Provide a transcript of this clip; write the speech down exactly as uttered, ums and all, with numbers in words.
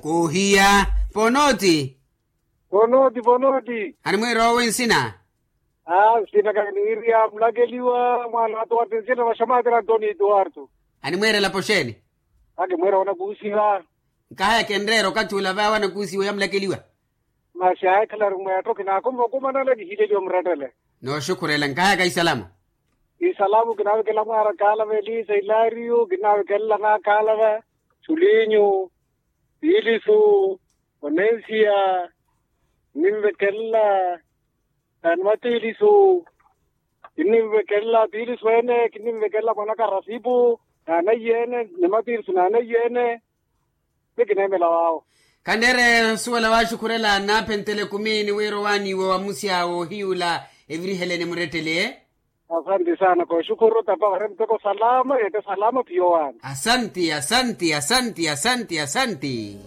Kuhiya. Ponoti. Ponoti ponoti. Animwiira owe nsina? Aa nsina kaniiriya mulakeliwa mwaana atuwati nsina vaxamaatira antoni tuwartu. Animwiira elapo xeeni? Akimwiira wanakuusiwa. Nkahaya kenreera okathi ula vaawe anakuusiwa ya mulakeliwa. Masi ahikhalaru mweetto kinaakuma okumanana kihileliwa murettele. Nooxukhurela nkahayaka isalamu. Isalamu kinaavekela mwaara kaalava elisa ilaariyu kinaavekela naakaalava, sulinyu, piilisu, onensiya, kinnimvekela. Animatiilisu kinnimvekela piilisu ene kinnimvekela mwanaka rasipu, naanaiye ene nimatiilisu naanaiye ene. Ti kineemela waawo. Kanneere osuwela waaxukhurela naaphentela ekumiini wira owaaniiwa wamusya woohiyula eviriheleni murettele. Asanti saana kooxukhuru tapa wari muteko salama yeete salama phiyo waani. Asanti asanti asanti asanti asanti.